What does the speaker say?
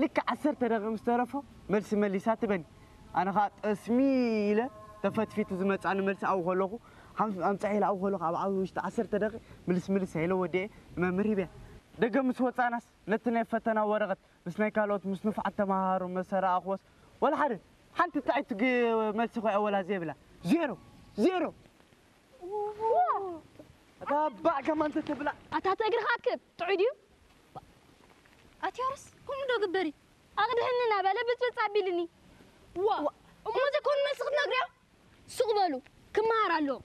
ልክዕ ዓሰርተ ደቂቕ ምስ ተረፎ መልሲ መሊሳ ትበኒ። ኣነ ኸዓ ጠስሚ ኢለ ተፈትፊቱ ዝመጻኒ መልሲ ኣብኡ ከለኹ፣ ሓም-፣ ኣምጽሐ ኢለ ኣብኡ ከለኹ ኣብ ዓቢ ውሽጢ ዓሰርተ ደቂቕ ምልስ ምልስ ኢለ ወዲኤ ንመምህር ሂበያ። ደገ ምስ ወጻናስ ነቲ ናይ ፈተና ወረቐት ምስ ናይ ካልኦት ምስ ንፉዓት ተመሃሮ ምስ ረኣኽዎስ ወላ ሓደ ሓንቲ ጥዕይቲ ግ-፣ መልሲ ኮይኣ ወላ ዘይብላ። ዜሮ፣ ዜሮ። ኣታ ባዕ ከማን ተተብላ። ኣታ ተእግርኻ ኣክብ ጥዑይ ድዩ? ኣቲ ያርስ ከምኡ ዶ ግበሪ? ኣቕድሕኒ እናበለ ብፅብፅ ኣቢልኒ። ዋ እሞ ዘይኮኑ መልሲ ክትነግርዮ? ሱቕ በሉ ክመሃር ኣለዎ።